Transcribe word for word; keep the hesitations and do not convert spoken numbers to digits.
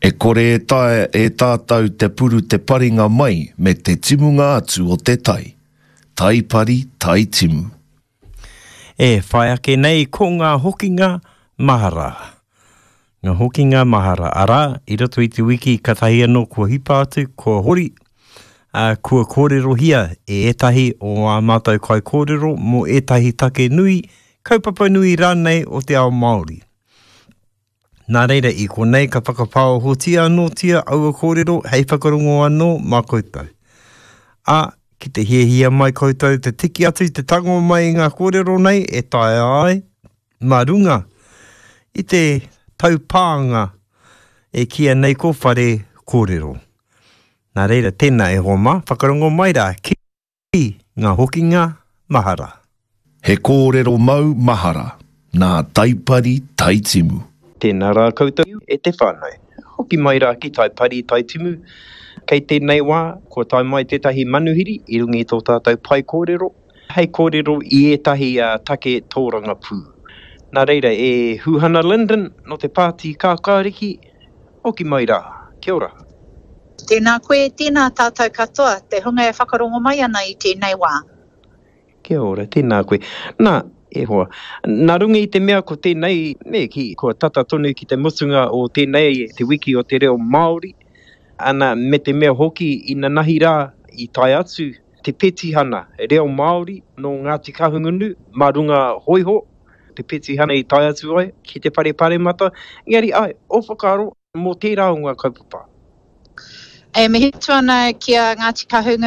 E kore e taea e tātou te puru te paringa mai me te timunga atu o te tai. Tai pari, tai timu. E whai ake nei ko ngā hokinga mahara. Ngā hokinga mahara, arā, i roto i te wiki katahi anō kua hipa atu, kua hori, ā, kua kōrerohia e ētahi o ā mātou kaikōrero mō ētahi take nui, kaupapa nui rānei o te ao Māori. Nā reira, i konei ka whakapāohotia anōtia aua kōrero hei whakarongo anō mā koutou. Ā, ki te hiahia mai koutou te tiki atu, te tango mai i ngā kōrero nei e taea ai mā runga i te taupānga e kīia nei ko Whare Kōrero. Nā reira, tēnā e hoa mā, whakarongo mai rā ki ngā hokinga mahara. He kōrero mau mahara nā Taipari Taitimu. Tēnā rā koutou e te whānau. Hoki mai rā ki Taipari Taitimu. Kei tēnei wā, kua tae mai tētahi manuhiri i runga i tō tātou pae kōrero, hei kōrero i ētahi take tōrangapū. Nā reira, e Huhana Lyndon nō te Pāti Kākāriki, hoki mai rā. Kia ora. Tēnā koe, tēnā tātou katoa, te hunga e whakarongo mai ana i tēnei wā. Kia ora, tēnā koe. Nā, e hoa, nā runga i te mea ko tēnei, me kī, kua tata tonu ki te mutunga o tēnei, te wiki o te reo Māori, ana, me te mea hoki inanahi rā i tae atu te petihana reo Māori nō Ngāti Kahungunu mā runga hōiho, te petihana i tae atu ai ki te whare paremata, engari ai, ō whakaaro mō tērā o ngā kaupapa. E mihi atu ana ki a Ngāti Kahungunu.